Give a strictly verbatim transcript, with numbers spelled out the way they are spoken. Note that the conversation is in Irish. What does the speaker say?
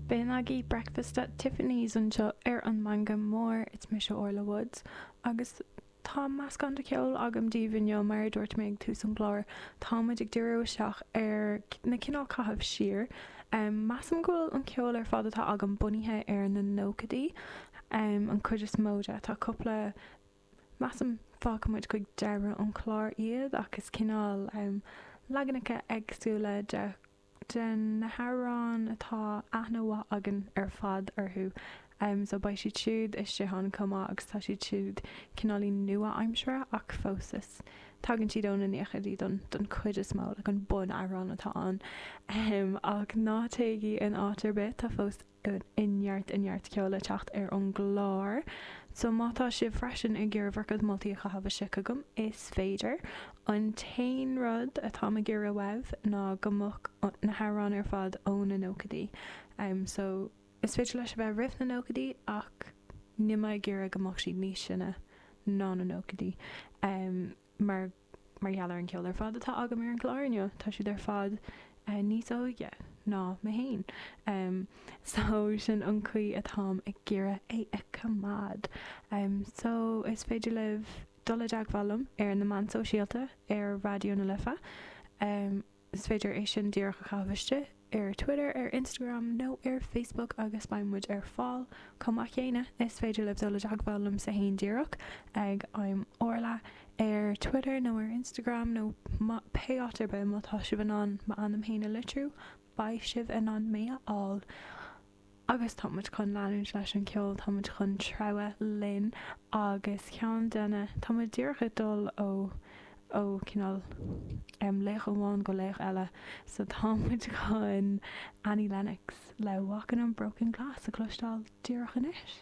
B'in agaibh Breakfast at Tiffany's anseo ar an Meangadh Mór, it's mise Orla Woods agus tá meascán de cheol agam daoibh inniu mar a dúirt mé ag tús an chláir, tá muid ag díriú isteach ar na cineál caitheamh siar. Measaim go bhfuil an ceol ar fad atá agam bunaithe ar na nóchaidí, an chuid is mó de. Tá cúpla, measaim, fágfaidh muid chuig deireadh an chláir iad ach is cineál leaganacha éagsúla de de na hamhráin atá aithne mhaith againn ar fad orthu. So beidh siad siúd istigh ann chomh maith agus tá siad siúd cineáilín nua-aimseartha ach fós is tagann siad ó na naochaidí don don chuid is mó, like an bun-amhrán atá ann. Ach ná téigí in áit ar bith, tá fós i neart i neart ceoil le teacht ar an gclár. So má tá sibh freisin ag iarraidh bhur gcuid moltaí a chaitheamh isteach chugam, is féidir. An t-aon rud atáim ag iarraidh uaibh ná go mbeadh na hamhráin ar fad ó na nóchaidí. So is féidir leis a bheith roimh na nóchaidí ach níl mé ag iarraidh go mbeadh siad níos sine ná na nóchaidí. Mar mar gheall ar an gceol ar fad atá agam ar an gclár inniu, tá siad ar fad níos óige ná mé féin. So sin an chaoi atáim ag iarraidh é a choimeád. So is féidir libh dul i dteagmháil liom ar na meáin sóisialta ar Raidió na Life. Is féidir é sin díreach a chaitheamh istigh ar Twitter, ar Instagram nó ar Facebook agus beidh muid ar fáil. Chomh maith céanna, is féidir libh dul i dteagmháil liomsa fhéin díreach ag I'm Orla ar Twitter nó ar Instagram nó pé áit ar bith má tá sibh in ann m'ainm féin a litriú, beidh sibh in ann mé a fháil. Agus tá muid chun leanúint leis an cheol, tá muid chun treabhadh linn agus ceann de na, tá muid díreach ag dul ó, ó cineál em laoch amháin go laoch eile so tá muid chun Annie Lennox le Walking on Broken Glass a chloisteáil díreach anois.